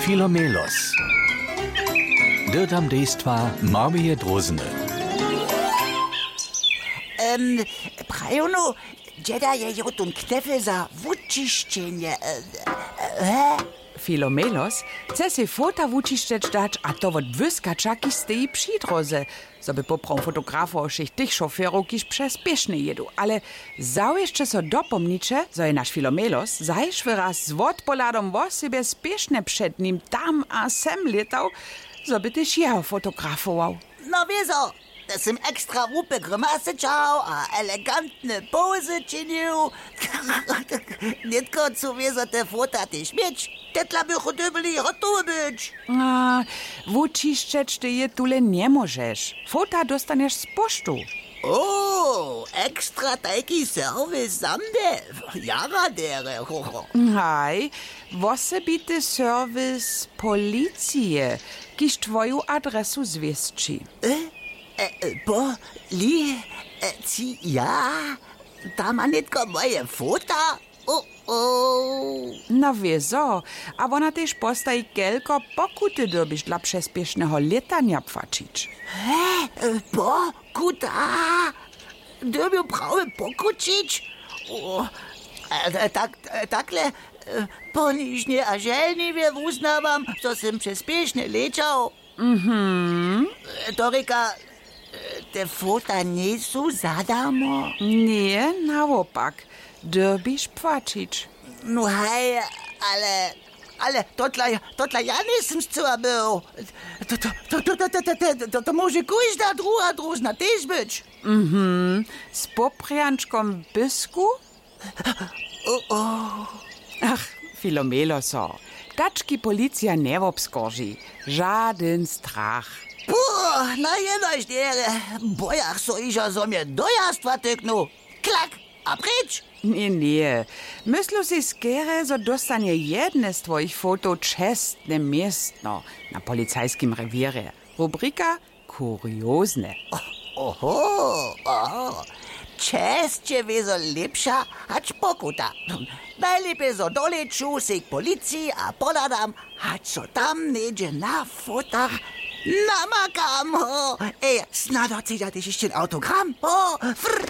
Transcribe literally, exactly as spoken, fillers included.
Filomelos. Dyrtam dejstwa Marmije Drózny. Em, prajownu, dźeda je jo tón knefel za wučišćenje. E, e, he? Filomelos chce sej fota wučišćeć dać, a to wot błyskaća, kiž steji při dróze, zo by poprawom fotografował wšěch tych šoferow, kiž přespěšnje jědu. Ale zawěsće so dopomniće, zo je naš Filomelos zašły raz z wotpohladom wosebje spěšnje před nim tam a sem lětał, zo by tež jeho fotografował. No wězo, te sym ekstra hłupe grimasy ćahał a elegantne pozy činił. Nětko chcu wězo te fota tež měć. Tetla bychu dyrbjeli hotowy być. A, wučišćeć ty je tule njemóžeš. Fota dóstanješ z poštu. O, ekstra tajki serwis za mnje. Jara derje, hoho. Haj, wosebity serwis policije, kiž twoju adresu zwěsći. E, e, e, po, li, e, ci, ja, tam ma nětko moje fota. O, o. No wězo, a wona tež postaji, kelko pokuty dyrbiš dla přespěšneho lětanja płaćić. He, e, pokuta? Dyrbju prawje pokućić? O, e, e, tak, e, takle, e, ponižnje a želniwje wuznawam, zo sym přespěšnje lěćał. Mhm. To rěka, te fota njejsu za darmo? Ně, nawopak, dyrbiš płaćić. No haj, ale, ale totla, totla ja njejsym scyła był. To, to, to, to, to, to, to, to, to móže kóžda druha drózna tež być. Mhm, z poprjančkom w pysku? O, o. Ach, Filomeloso, tački policija njewobskorži. Žadyn strach. Puh, na jenož derje, bojach so hižo, zo mje dojazd watyknu. Klak, a pryč. Ně, ně. Myslu sej skerje, zo dóstanje jedne z twojich fotow čestne městno na policajskim rewěrje. Rubrika kuriozne. Oho, oho. Česće wězo lěpša hač pokuta. Najlěpje zo dolěću sej k policiji a pohladam, hač so tam něhdźe na fotach namakam. Ho, ej, snadno chcedźa tež hišće autogram. Ho, frr.